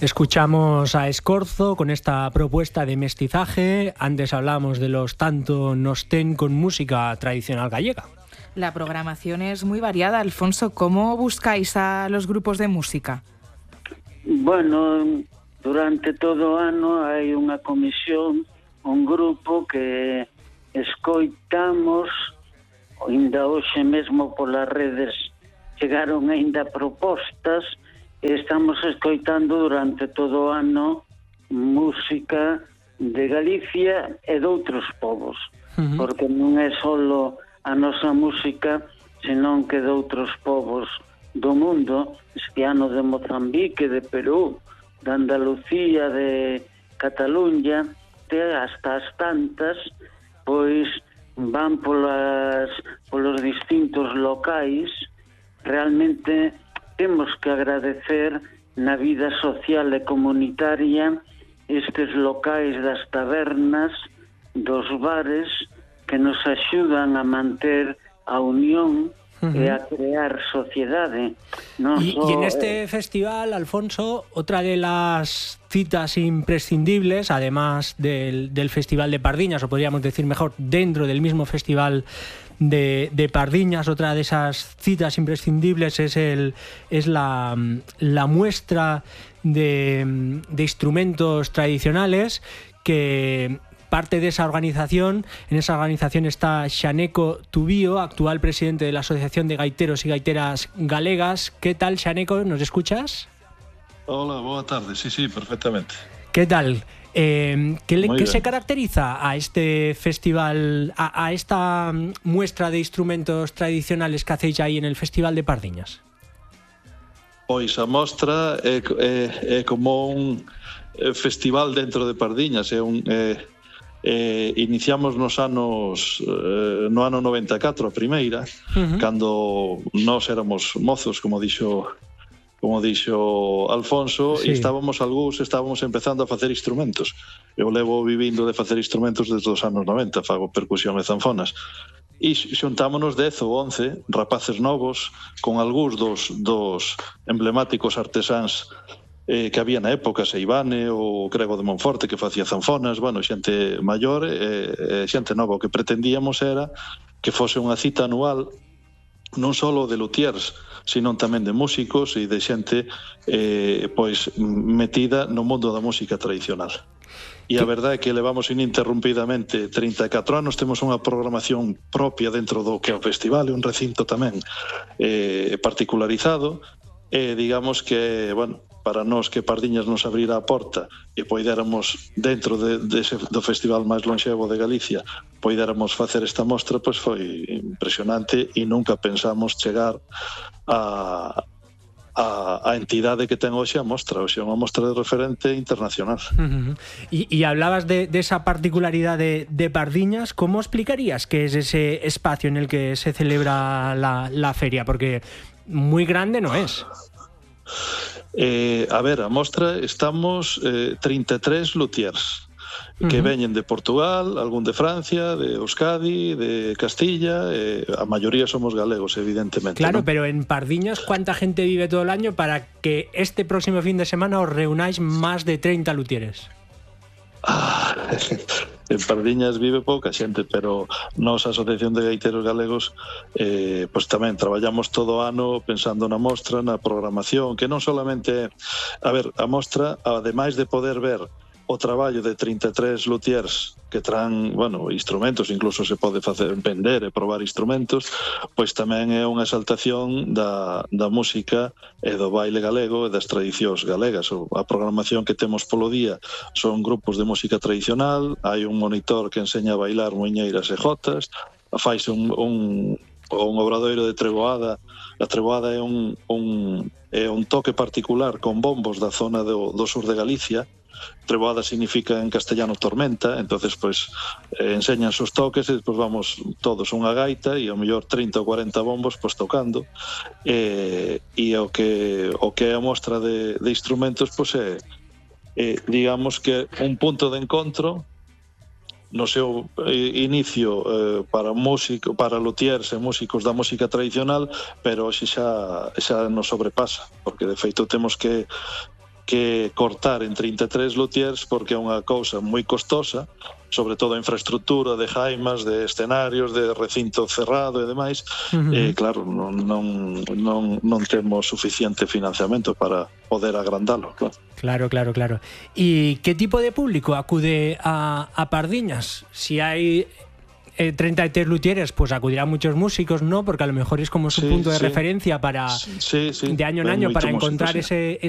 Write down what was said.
Escuchamos a Escorzo con esta propuesta de mestizaje. Antes hablamos de los Tanto nos ten con música tradicional gallega. La programación es muy variada, Alfonso. ¿Cómo buscáis a los grupos de música? Bueno, durante todo o ano hai unha comisión, un grupo que escoitamos, ainda hoxe mesmo polas redes chegaron ainda propostas, e estamos escoitando durante todo o ano música de Galicia e de outros povos, porque non é só a nosa música, senón que de outros povos do mundo, este ano de Mozambique, de Perú, de Andalucía, de Cataluña, hasta as tantas, pois van polos distintos locais. Realmente temos que agradecer na vida social e comunitaria estes locais das tabernas, dos bares, que nos axudan a manter a unión e a crear sociedade. Y en este festival, Alfonso, otra de las citas imprescindibles, además del Festival de Pardiñas, o podríamos decir mejor, dentro del mismo Festival de Pardiñas, otra de esas citas imprescindibles es la muestra de instrumentos tradicionales, que parte de esa organización. En esa organización está Xaneco Tubío, actual presidente de la Asociación de Gaiteros y Gaiteras Galegas. ¿Qué tal, Xaneco? ¿Nos escuchas? Hola, boa tarde. Sí, perfectamente. ¿Qué tal? ¿Qué se caracteriza a este festival, a esta muestra de instrumentos tradicionales que hacéis ahí en el Festival de Pardiñas? Pois a mostra é como un festival dentro de Pardiñas. Iniciamos no ano 94 a primeira, cando nós éramos mozos, como dixo Alfonso, sí. E estábamos empezando a facer instrumentos. Eu levo vivindo de facer instrumentos desde os anos 90, fago percusión e zanfonas. E xuntámonos 10 ou 11 rapaces novos con algúns dos emblemáticos artesáns que había na época, Seivane, o Crego de Monforte, que facía zanfonas, bueno, xente maior e xente nova. O que pretendíamos era que fose unha cita anual non só de luthiers, sino tamén de músicos e de xente pois metida no mundo da música tradicional. E a verdade é que levamos ininterrumpidamente 34 anos, temos unha programación propia dentro do que é o festival, e un recinto tamén particularizado, e digamos que, bueno, para nós que Pardiñas nos abrira a porta e poidéramos, dentro do festival máis lonxevo de Galicia, poidéramos facer esta mostra, pois foi impresionante, e nunca pensamos chegar a entidade que ten hoxe a mostra. Hoxe é unha mostra de referente internacional. Y hablabas de esa particularidad de Pardiñas. ¿Cómo explicarías qué es ese espacio en el que se celebra la feria? Porque muy grande no es. A ver, a mostra estamos 33 luthiers que veñen de Portugal, algún de Francia, de Euskadi, de Castilla, a maioría somos galegos, evidentemente. Claro, ¿no? Pero en Pardiñas, ¿cuánta gente vive todo el año para que este próximo fin de semana os reunáis más de 30 luthieres? En Pardiñas vive pouca xente, pero nos, a Asociación de Gaiteros Galegos, pois tamén traballamos todo o ano pensando na mostra, na programación, que non solamente, a ver, a mostra, ademais de poder ver o traballo de 33 luthiers que traen, bueno, instrumentos, incluso se pode facer vender e probar instrumentos, pois tamén é unha exaltación da música e do baile galego e das tradicións galegas. A programación que temos polo día son grupos de música tradicional, hai un monitor que enseña a bailar moiñeiras e jotas, faise un obradoiro de treboada. A treboada é un toque particular con bombos da zona do sur de Galicia. Treboada significa en castellano tormenta, entonces pues enseñan os toques e despois vamos todos unha gaita e ao mellor 30 ou 40 bombos pues tocando, e o que é a mostra de instrumentos pues é digamos que un punto de encontro no seu inicio para luthiers e músicos da música tradicional, pero hoxe xa nos sobrepasa, porque de feito temos que que cortar en 33 luthiers porque é unha cousa moi costosa, sobre todo a infraestructura de jaimas, de escenarios, de recinto cerrado e demais. Claro, non temos suficiente financiamento para poder agrandalo. Claro. E que tipo de público acude a Pardiñas? Si hai 33 luthieres, pues acudirán muchos músicos, ¿no? Porque a lo mejor es como su punto de referencia para de año en año para encontrar ese